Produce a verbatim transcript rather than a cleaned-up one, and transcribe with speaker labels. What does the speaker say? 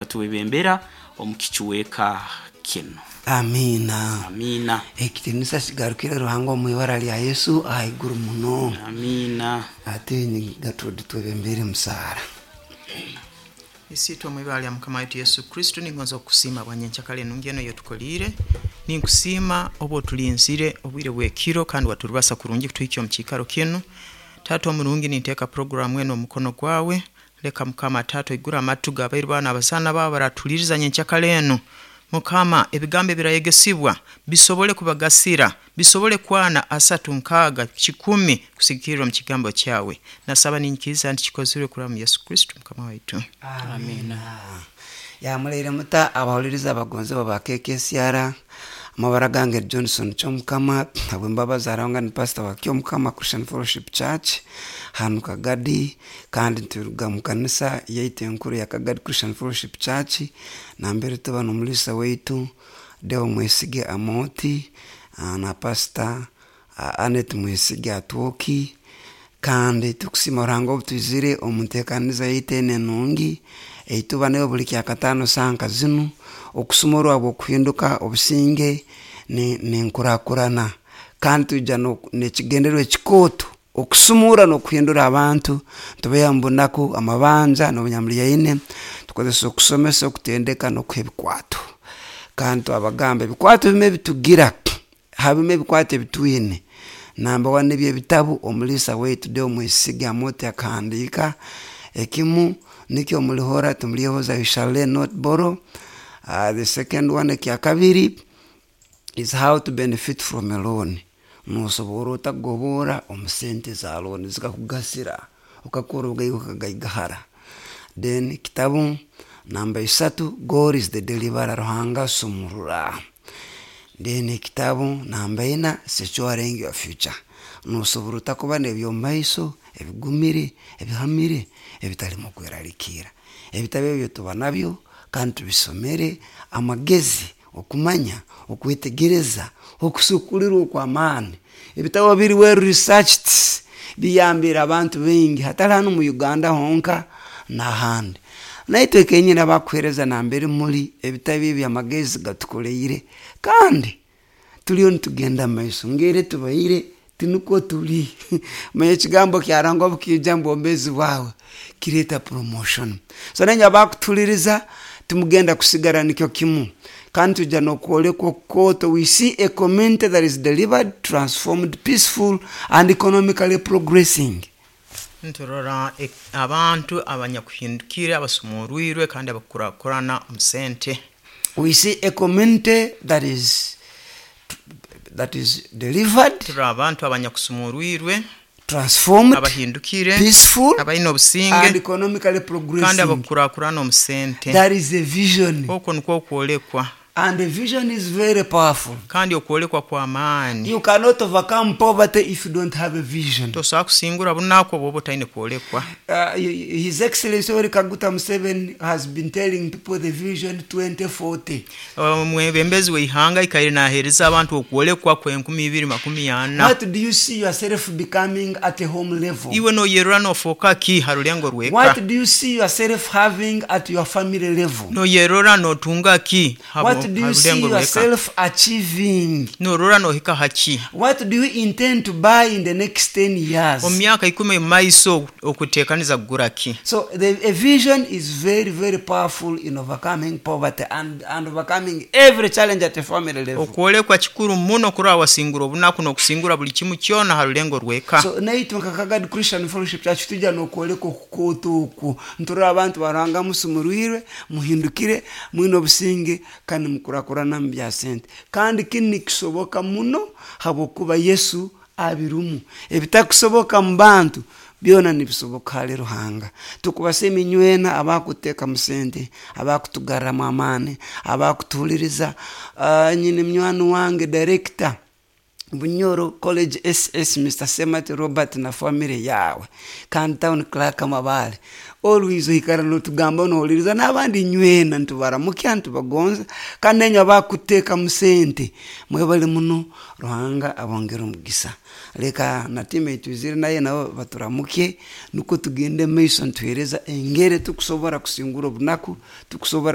Speaker 1: Tuwebembera omu kichweka kinu.
Speaker 2: Amiina.
Speaker 1: Amiina.
Speaker 2: Ekitinisa kigarukire Ruhanga omu ibara lya Yesu ahaiguru muno.
Speaker 1: Amiina.
Speaker 2: Ate Gertrude, twebembere musaara.
Speaker 3: Isiitwe omu ibara lya Mukama waitu Yesu Kristo, ningonza okukusiima bwanyenkyakara enungi eno eyotukoliire. Ninkusiima obu otulinzire obwire bw'ekiro kandi waturubasa kurungi kutuhikya omu kiikaro kinu. Taata omurungi, ninteeka puroguramu eno omu mukono gwawe. Leka Mukama Taata oigure amatu g'abairu bawe n'abazaana bawe baratuhuliriza nyenkyakara enu. Mukama, ebigambo ebirayegesibwa bisobole kubagasira, bisobole kwana asatu, nkaaga, kikumi, kusigikirra omu kigambo kyawe. Nasaba ninyikiriza nti kikozirwe kuraba mu Yesu Kristo Mukama waitu.
Speaker 2: Amiina. Yamuleire muta abahuliriza abagonzebwa ba K K C R. Amabara gange Johnson Kyomukama, habwembabazi aranga ni pastor wa Kyomukama Christian Fellowship Church hanu Kagadi, kandi nturuga mu kanisa yaitu enkuru ya Kagadi Christian Fellowship Church, nambere tuba n'omulisa waitu Deo Mwesige Amoti ah, na Pastor ah, Anet Mwesige Atwoki. Kandi tukusima Ruhanga obu twizire omu nteekaniza yaitu enu enungi eituba nayo buli Kyakataano sanka zinu, okusumurwa bw'okuhinduka, obusinge nenkurakurana. Kandi twija n'ekigendererwa ekikooto okusumura n'okuhindura abantu, tubeha mu bunaku, amabanja n'obunyamulyaine. Tukozesa okusomesa, okutendeka n'okuha ebikwato. Kandi twabagamba ebikwato bimu ebitugira, habimu ebikwato ebitwine. Namba one, nibyo ebitabu omulisa waitu Deo Mwesige Amoti akahandiika. Ekimu nikyo "Mulihora Timulyehoza", "You Shall Learn, Not Borrow". uh, the second one, ekyakabiri, is "How to Benefit from a Loan", nosobora otagobora omu sente za loan zikakugasira okakora obugaiga okagaigahara. Then kitabu namba isatu, "God Is the Deliverer", Ruhanga Sumurura. Then ekitabu namba ina, "Securing Your Future", nosobora otakuba n'ebyomumaiso ebigumire, ebihamire, ebitalimu kweralikiira. Ebitabu ebyo tuba nabyo kandi tubisomere, amagezi, okumanya, okwetegereza, okusukulirwa okw'amaani. Ebitabo biri well researched, biyambire abantu baingi, hatali hanu mu Uganda honka, n'ahandi. Naitwe kenyini abakuheereza nambere muli ebitabu ebi, amagezi gatukoleire kandi tuliyo nitugenda mumaiso. Ngeri tubaire tinukwo tuli. Manya ekigambo kyarangwa obukiija mu bwomeezi bwawe kireeta promotion. So nanye abakutuhuliriza, timugenda kusigara nikyo kimu, kandi tujja n'okwolekwa okukooto. We see a community that is delivered, transformed, peaceful and economically progressing.
Speaker 3: Nturora e- abantu abanyakuhindukire, abasumurwirwe kandi abakurakurana omu sente.
Speaker 2: We see a community that is that is delivered,
Speaker 3: Turora abantu abanyakusumurwirwe,
Speaker 2: transformed,
Speaker 3: abahindukire,
Speaker 2: peaceful
Speaker 3: abalina obusinge
Speaker 2: and economically
Speaker 3: kandi
Speaker 2: progressing.
Speaker 3: abakurakurana omu sente.
Speaker 2: That is a vision.
Speaker 3: Okwo nikwo okwolekwa.
Speaker 2: And the vision is very powerful.
Speaker 3: Kandi okwolekwa kw'amaani.
Speaker 2: You cannot overcome poverty if you don't have a vision.
Speaker 3: Tosobola kusingura bunaku obwoba otalina kwolekwa.
Speaker 2: Uh, His Excellency Yoweri Kaguta Museveni has been telling people the Vision twenty forty.
Speaker 3: Omwebembezi w'eihanga ikaire naheereza abantu okwolekwa kw'enkumi ibiri makumi ana.
Speaker 2: What do you see yourself becoming at a home level?
Speaker 3: Iwe noyerora nofuuka ki ha rulengo rweka?
Speaker 2: What do you see yourself having at your family level?
Speaker 3: Noyerora notunga ki ha
Speaker 2: What do
Speaker 3: ha
Speaker 2: you see
Speaker 3: rulengo rweka?
Speaker 2: yourself achieving?
Speaker 3: Norora nohika haki?
Speaker 2: What do you intend to buy in the next ten years?
Speaker 3: Omu myaka ikumi omu maiso okuteekaniza kugura ki?
Speaker 2: So the, a vision is very, very powerful in overcoming poverty and, and overcoming every challenge at a family level.
Speaker 3: Okwolekwa kikuru muno kurora wasingura obunaku n'okusingura buli kimu kyona ha rulengo rweka.
Speaker 2: So naitwe nka Kagadi Christian Fellowship Church tujja n'okwoleka okukooto okwo. Nturora abantu baranga musumurwirwe, muhindukire, mwine obusinge kandi mukurakurana mu bya sente. Kandi kinu nikisoboka muno habwokuba Yesu abirumu. Ebitakusoboka mu bantu byona nibisoboka hali Ruhanga. Tukubasa eminywena abakuteeka mu sente, abakutugarramu amaani, abakutuhuliriza. uh, nyine munywani wange, director Bunyoro College S S Mister Semati Robert na family yawe, kandi town clerk Mabale, always oikara notugamba nohuliriza n'abandi. Nywena ntubaramukya, ntubagonza, kandi nenywe abakuteekamu sente mwebale muno, Ruhanga abongere omugisa. Leka na timu etwizire naye nabo baturamukye, nukwo tugende maiso ntuhereza engeri tukusobora kusingura obunaku tukusobora.